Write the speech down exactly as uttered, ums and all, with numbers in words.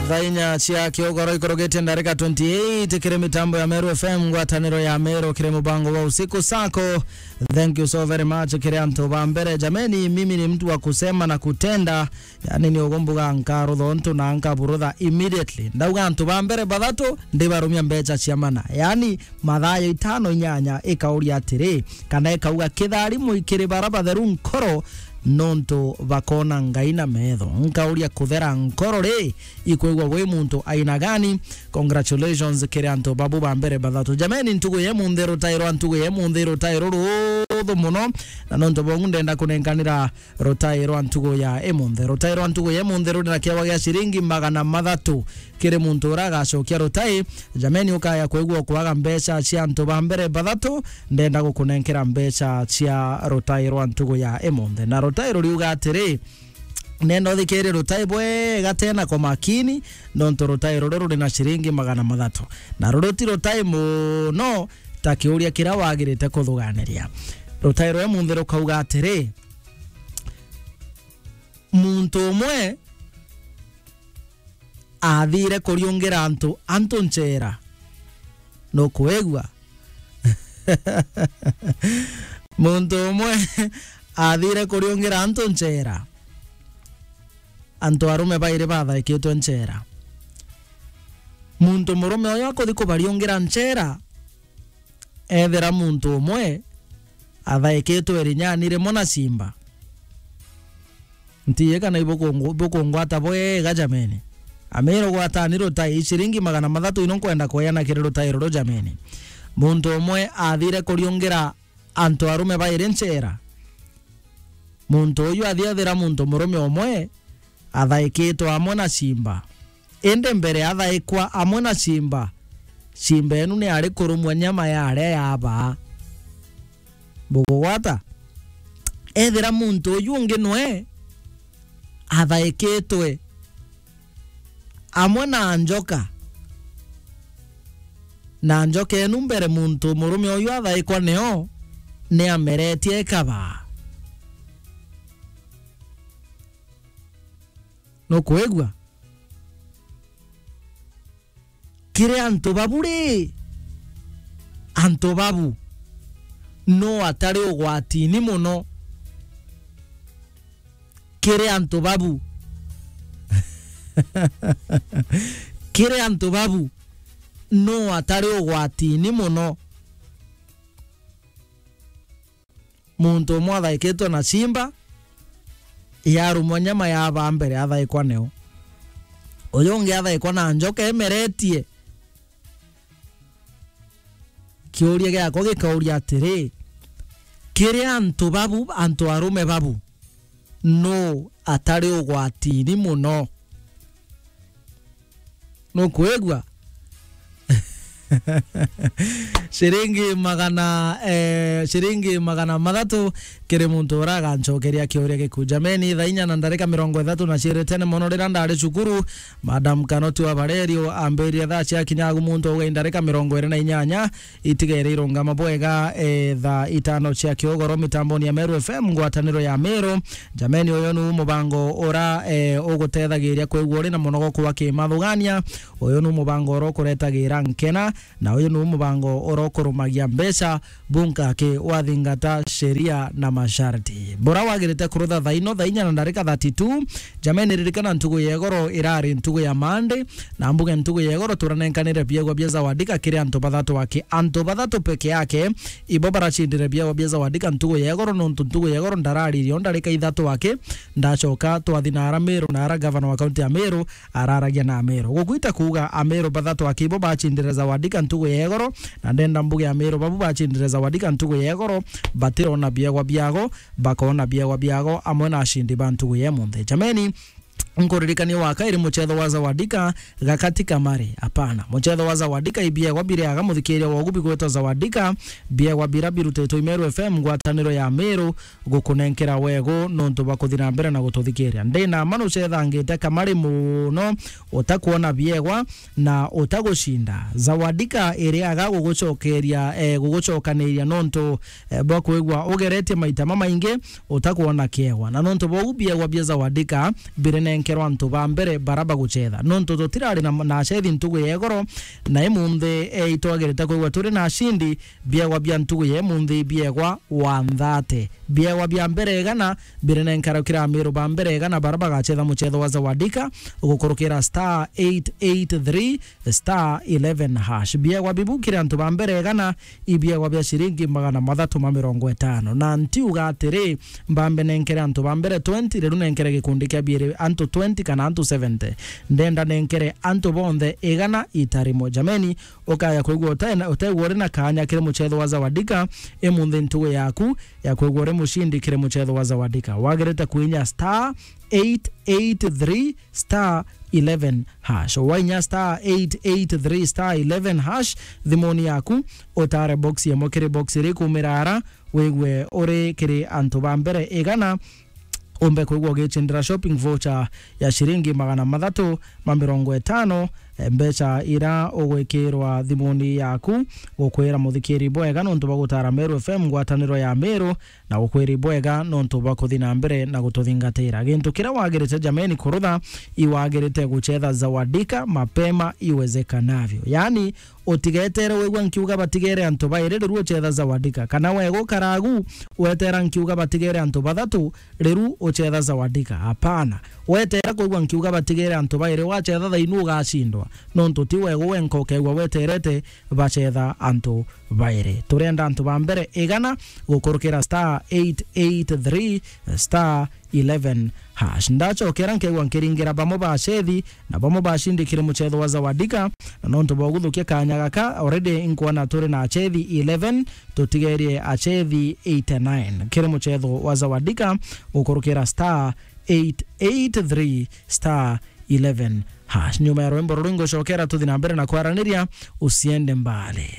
Thaa inya cia kiogoro ikorogete ndarika twenty-eight kiri mitambo ya Meru F M, ngwataniro ya Meru kiri mubango wa usiku sako. Thank you so very much kiri antu ba mbere. Jameni, mimi ni mtu wa kusema na kutenda. Yani ni ugumbuga nkarutha untu na nkaburutha immediately. Ndauga antu ba mbere bathatu, ndibarumia mbecha cia mana. Yani mathayo itano inyanya ikauria atiri, kana ikauga kitharimu ikiri bara batheru nkoro, nontu bakona Ngai na metho. Nkauria kuthera nkoro ri, ikwigua wi muntu aina gani? Congratulations kiri antu babu ba mbere bathatu. Jameni, ntugu ye munthi, rutai rwa ntugu ye munthi, rutai ruruthu muno, na nontu bongu ndenda kunenkanira rutai rwa ntugu ya imunthi. Rutai rwa ntugu ya imunthi ruri na kiewa gia ciringi magana mathatu kiri muntu uria agacokia rutai. Jameni, ukaya kwigua kwaga mbecha cia antu ba mbere bathatu, ndenda gukunenkera mbecha cia rutai rwa ntugu ya imunthi. Na rutai ruriuga atiri, nenda uthikiri rutai bwega tena kwa makini, nontu rutai ruri ruri na ciringi magana mathatu. Na ruri ti rutai muno ta kiuria kiria wagirite kuthuganiria. Rutai rwa imunthi rukauga atiri, muntu umwe athire kuriungira antu, antu nchera. Nukwigua? Muntu umwe athire kuriungira antu nchera. Antu arume bairi bathaikitwe nchera. Muntu murume uyu akuthi kubariungira nchera, ethira muntu umwe athaikitwe irinyani rimwe na simba. Ntiye kana ibukungu-, bukungwata bwega jameni. Amiro gwatani rutai, ciringi magana mathatu ino nkwenda kweana kiri rutai ruru jameni. Muntu umwe athire kuriungira antu arume bairi nchera. Muntu uyu athi ethira muntu murume umwe athaikitwe amwe na simba. Indi mbere athaikwa amwe na simba, simba enu ni ari kurumwa nyama ya aria yabaa. Bugugwata? Ethira muntu uyu ungi nwe athaikitwe amwe na njoka, na njoka enu mbere muntu murume uyu athaikwa nio, ni ameritie ikabaa. Nukwigua? Kiri antu babu ri, antu babu no atari ugwatini muno? Kiri antu babu, kiri antu babu no atari ugwatini muno? Muntu umwe athaikitwe na simba, yarumwa nyama yabaa mbere athaikwa neo. Uyu ungi athaikwa na njoka imeretie. Kiuria giakwa gikauria atiri, kiri antu babu, antu arume babu, nu atari ugwatini muno? Nukwigua? Ciringi magana, eh, ciringi magana mathatu kiri muntu uria agancokeria kiuria giku. Jameni, thaa inya na ndarika mirongo ithatu na ciiri tene mono riria ndari cukuru, Madam Kanoti wa Barerio ambiririe thaa cia kinyagu muntu auga indarika mirongo iri na inyanya, itigere irungama bwega, eh, thaa itano cia kiogoro mitamboni ya Meru F M, ngwataniro ya Meru. Jameni, uyu nu mubango ura, eh, ugutethagiria kwigua uri na munogo kwa kimathugania. Uyu nu mubango ura ukuretagira nkena, na uyu nu mubango ura ukurumagia mbeca, bunka ki wathingata sheria na masharti. Bura wagirite kurutha thaa ino, thaa inya na ndarika thirty-two. Jameni, ririkana ntugu ya igoro irari ntugu ya Monday, na mbuge ntugu ya igoro turanenkanire biegwa bia Zawadika kiri antu bathatu aki. Antu bathatu peke yake ibo baracindire biegwa bia Zawadika ntugu ya igoro, nontu ntugu ya igoro ndararirie o ndarika ithatu aki. Ndacoka twathi na ara Meru, na ara gavana wa kaunti ya Meru araragia na Ameru. Gugwita kuuga Ameru bathatu aki ibo bacindire Zawadika ntugu ya igoro, na ndenda mbuge Ameru babu bacindire Zawadika ntugu ya igoro, batirona biegwa biago, bakona biegwa biago amwe na acindi ba ntugu ya imunthi. Jameni, nkuririkania wa kairi muchetho wa Zawadika gakati kamari? Hapana. Muchetho wa Zawadika ibiegwa biriaga muthikiria wogu bigwetwa Zawadika, biegwa bira birutitwe i Meru F M, ngwataniro ya Meru, gukunenkera wegu nontu bwa kuthi na mbere na gututhikiria. Ndina ma nucethangite kamari muno, utakwona biegwa na utagucinda. Zawadika iriaga gugucokeria, eh, gugucokaniria nontu, eh, bwa kwigua ugeretie maita mamaingi utakwona kiegwa. Na nontu bou biegwa bia Zawadika birinenke kerwa antu ba mbere bara bagucetha. Nontu tutirari na, na acethi ntugu ya igoro, na imunthi, eh, itwagirite kwigua turi na acindi, biegwa bia ntugu ya imunthi biegwa wa nthate. Biegwa bia mbere igana biri nenkera kiri Amiru ba mbere igana bara bagacetha mucetho wa Zawadika gukurukira star eight eight three star eleven hash. Biegwa bibu kiri antu ba mbere igana ibiegwa bia ciringi magana mathatu ma mirongo itano. Na ntiuga atiri, mbambe nenkere antu ba mbere twenty, riu nenkere gikundi kia biiri antu twenty kana antu seventy. Ndenda nenkere antu bonthe igana ita rimwe. Jameni, ukaya kwigua utena-, utegwa uri na kanya kiri mucetho wa Zawadika, imunthi ntugu yaku ya kwigua uri mucindi kiri mucetho wa Zawadika. Wagirite kuinya star eight eight three star eleven hash. Wainya star eight eight three star eleven hash, thimuni yaku, utare box yemwe kiri box iri kumira ara, wigwe uri kiri antu ba mbere igana, umbe kwigua ugicindira shopping voucher ya ciringi magana mathatu ma mirongo itano, eh, mbeca ira ugwikirwa thimuni yaku, gukwira muthikiri bwega nontu bwa gutara Meru F M, ngwataniro ya Meru, na gukwira ibwega nontu bwa kuthi na mbere na gututhingatira. Gintu kiria wagirite jameni kurutha, iwagirite gucetha Zawadika mapema iwezekanavyo. Yaani, utigetere wigua nkiuga batigere antu bairi, riu ucetha Zawadika. Kana wega ukaragu, wetera nkiuga batigere antu bathatu, riu ucetha Zawadika. Hapana. Wetera kwigua nkiuga batigere antu bairi, wacetha thainu ugacindwa. Nontu ti wega wenka ukegua weterete bacetha antu bairi. Turenda antu ba mbere igana gukurukira star eight eight three star eleven hash. Ndacokera nkeigua nkiringira bamwe ba acethi na bamwe bacindikire mucetho wa Zawadika, na nontu bwa guthukia kanya gaka, already nkwona turi na acethi eleven, tutigerie acethi eighty-nine kiri mucetho wa Zawadika gukurukira star eight eight three star eleven hash. Nyuma ya rwimbo ruru ngucokera tuthi na mbere na kwaraniria, usiende mbali.